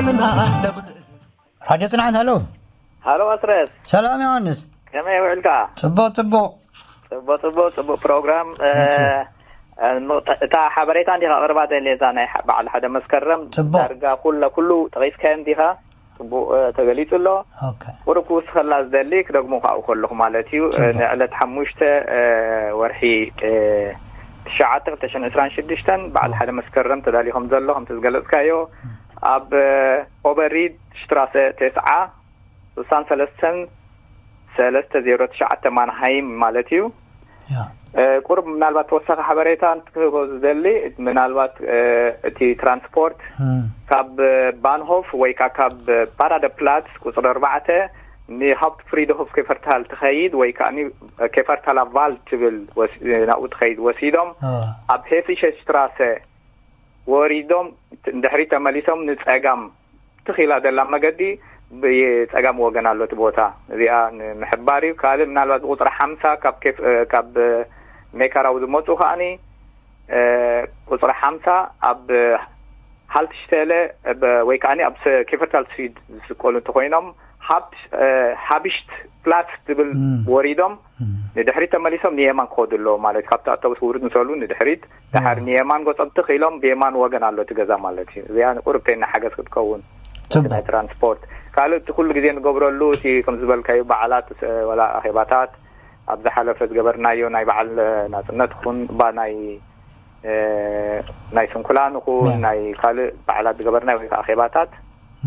ራድዮ ጽንዓት፣ ሃሎ። ሃሎ ኣስረስ። ሰላም ዮሃንስ። ከመይ ውዕልካ? ጽቡቕ፣ ጽቡቕ። ጽቡቕ፣ ጽቡቕ፣ ጽቡቕ ፕሮግራም። እ፣ Thank you. እ፣ ምቕጣ-፣ እታ ሓበሬታ እንዲኻ ኣቕርባ ዘለ፣ እዛ ናይ ሓ-፣ በዓል ሓደ መስከረም ጽቡቕ። ዳርጋ ኩለ-፣ ኩሉ ጠቒስካዮ እንዲኻ? ጽቡቕ፣ እ፣ ተገሊጹ ኣሎ። ኦኬ። ቁሩብ ክውስኸላ ዝደሊ፣ ክደግሞ ካብኡ ከለኹ ማለት እዩ። እ፣ ጽቡቕ። ንዕለት ሓሙሽተ፣ እ፣ ወርሒ፣ እ፣ ትሽዓተ ክልተ ሽሕን ዕስራን ሽዱሽተን በዓል ኦ። ሓደ መስከረም ተዳሊኹም ዘሎ፣ ከምቲ ዝገለጽካዮ፣ ም። ኣብ፣ እ፣ ኦበሪድ ሽትራሰ ተስዓ፣ ስሳን ሰለስተን ሰለስተ ዜሮ ትሽዓተ ማንሃይም ማለት እዩ። ያ። እ፣ ቁሩብ ምናልባት ተወሳኺ ሓበሬታ እንትክህቦ ዝደሊ፣ ምናልባት፣ እ፣ እቲ ትራንስፖርት ም። ካብ፣ እ፣ ባንሆፍ ወይ ከኣ ካብ፣ እ፣ ፓራደ ፕላትስ ቁጽሪ ኣርባዕተ ንሃውፕት ፍሪድሆፍ ኬፈርታል ትኸይድ ወይ ከኣ ኒ-፣ ኬፈርታላ ቫልድ ትብል ወስ-፣ ናብኡ ትኸይድ ወሲዶም ኦ። ኣብ ሄሲሸ ሽትራሰ ወሪዶም፣ ድሕሪት ተመሊሶም ንጸጋም ትኽ ኢላ ዘላ መገዲ ብጸጋም ወገን ኣሎ እቲ ቦታ። እዚኣ ንምሕባር እዩ። ካልእ ምናልባት ብቁጽሪ ሓምሳ ካብ ኬፍ-፣ እ፣ ካብ፣ እ፣ ሜካራው ዝመጹ ከኣኒ፣ እ፣ ቁጽሪ ሓምሳ ኣብ ሃልትሽቴለ፣ እ፣ ብ-፣ ወይ ከኣኒ ኣብ ስ-፣ ኬፈርታል ስዊድ ዝስቀሉ እንተኾይኖም፣ ሃብት-፣ እ፣ ሃብሽት ፕላስ ትብል ም። ወሪዶም ም። ንድሕሪት ተመሊሶም ንየማን ክኸዱ ኣለዎ ማለት እዩ። ካብቲ ኣውቶቡስ ውርድ ምስ በሉ ንድሕሪት፣ ደሓር ም። ንየማን ገጾም ትኽ ኢሎም ብየማን ወገን ኣሎ እቲ ገዛ ማለት እዩ። እዚኣ ንቁርብተይና ሓገዝ ክትከውን፣ እቲ ጽቡቕ። ናይ ትራንስፖርት። ካልእ እቲ ኩሉ ግዜ ንገብረሉ፣ እቲ ከም ዝበልካዩ በዓላት፣ እ፣ ወላ ኣኼባታት፣ ኣብ ዝሓለፈ ዝገበርናዮ ናይ በዓል ናጽነት ኹን፣ ባ ናይ፣ እ፣ ናይ ስንኩላን ኹን፣ ያ። ናይ ካልእ በዓላት ዝገበርናዮ ወይ ከዓ ኣኼባታት፣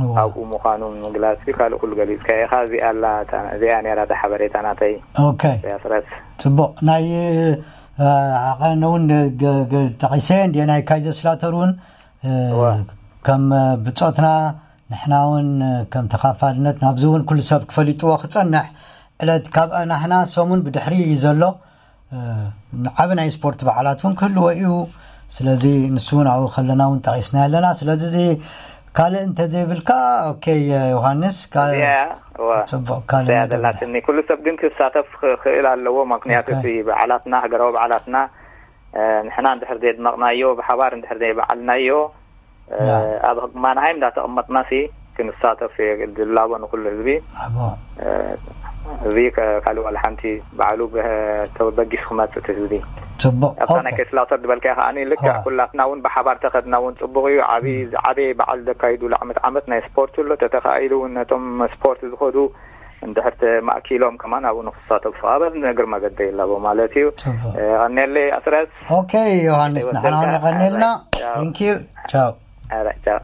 እዋ። ኣብኡ ምዃኑ ምግላጽ እዩ። ካልእ ኩሉ ገሊጽካዮ ኢኻ። እዚኣ ኣላ፣ እታ፣ እዚኣ ነይራ እታ ሓበሬታ ናተይ። ኦኬ። ያስረስ። ጽቡቕ። ናይ፣ እ፣ ኣቐነ እውን ገ-፣ ገ-፣ ጠቒሰ እንድየ፣ ናይ ካይዘርስላተር እውን፣ እ፣ እዋ። ከም፣ እ፣ ብጾትና ንሕና እውን፣ እ፣ ከም ተኻፋልነት ናብዚ እውን ኩሉ ሰብ ክፈሊጥዎ ክጸንሕ ዕለት ካብ ናህና ሰሙን ብድሕሪ እዩ ዘሎ። እ፣ ዓቢ ናይ ስፖርት በዓላት እውን ክህልዎ እዩ። ስለዚ ንሱ እውን ኣብኡ ከለና እውን ጠቒስና ኣለና። ስለዚ እዚ ካልእ እንተዘይብልካ፣ ኦኬ፣ ዮሃንስ፣ ካ-፣ እዚኣ፣ እዋ፣ ጽቡቕ፣ ካልእ እዚኣ ነገር ደላትኒ። ኩሉ ሰብ ግን ክሳተፍ ክኽእል ኣለዎ። ምኽንያቱ ኦኬ። እቲ በዓላትና፣ ሃገራዊ በዓላትና፣ እ፣ ንሕና እንድሕር ዘየድመቕናዮ፣ ብሓባር እንድሕር ዘየበዓልናዮ፣ እ፣ ያ። ኣብ ማንሃይም እንዳተቐመጥና ሲ ክንሳተፍ የግድል ኣቦ ንኩሉ ህዝቢ። ኣቦ። እ፣ እዚ ከ-፣ ካልእ ዋላ ሓንቲ ባዕሉ በ-፣ ተበጊሱ ክመጽእ እቲ ህዝቢ። ጽቡቕ። ኣብታ ኦኬ። ናይ ኬስላውተር ዝበልካያ ከኣ ልክዕ ዋ። ኩላትና እውን ብሓባር ተኸድና እውን ጽቡቕ እዩ። ዓቢ፣ ም። ዓቢ በዓል ዘካይዱሉ ዓመት ዓመት ናይ ስፖርት ኣሎ። ተተኻኢሉ እውን ነቶም ስፖርት ዝኸዱ እንድሕር ተማእኪሎም ከማን ኣብኡ ንክሳተፉ ኣብ እግሪ መገዲ ይላቦ ማለት እዩ። ጽቡቕ። እ፣ ቀንየለይ ኣስረስ። ኦኬ፣ ዮሃንስ፣ ሕይወት ንሕና እውን ጸጋ። የቐንየልና። ኣረ፣ ቻው። Thank you። ቻው። ኣረ፣ ቻው።